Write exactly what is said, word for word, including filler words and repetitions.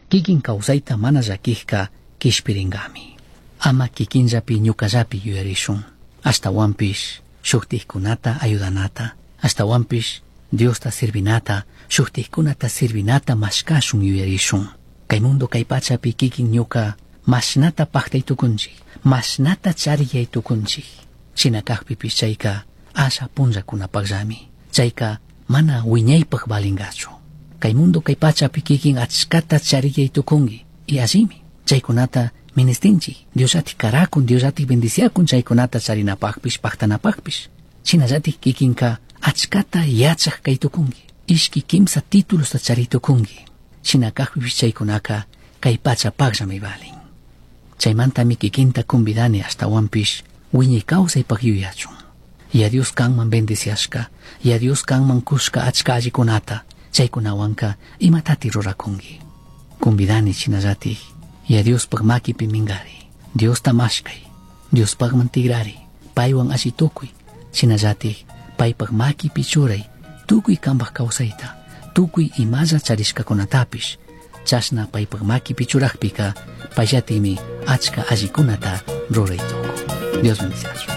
Kikin kawsayta mana llakijka kishpiringami. Ama kikinllapi ñukallapi yuyarishun. Ashtahuanpish shujtijkunata ayudanata, ashtahuanpish Diosta sirvinata, shujtijkunata sirvinata mashkashun yuyarishun. Kay mundo kay pachapi kikin ñuka mashnata paktay tukunchik, mashnata chariyay tukunchik. Shina kajpipish chayka asha punllakunapakllami. Chayka mana wiñaypak valingachu. Kay mundo kay pachapi kikin achkata chariyay tukunki. Y allimi chaykunata ministinchik. Diosllatik karakun, Diosllatik bendiciakun chaykunata charinapakpish, paktanapakpish. Shinallatik kikinka achkata yachak kay tukunki. Ishki kimsa títulosta chari tukunki. Shina kajpipish chaykunaka kay pachapakllami valin. Chaymantami kikinta convidani ashtawanpish wiñay kawsaypak yuyachun. Ya Dios kanman bendiciashka, ya Dios kanman kushka achka allikunata, chaykunawanka imatati rurakunki. Convidani shinallatik, ya Diospaj makipi mingari, Diosta mashkay, Diospajman tigrari, paywan alli tukuy, shinallatik paypaj makipi churay, tukuy kanpaj kawsayta, tukuy imalla charishkakunatapish, chashna paypaj makipi churajpika, payllatimi achka allikunata ruray tukun. Dios bendiciachun.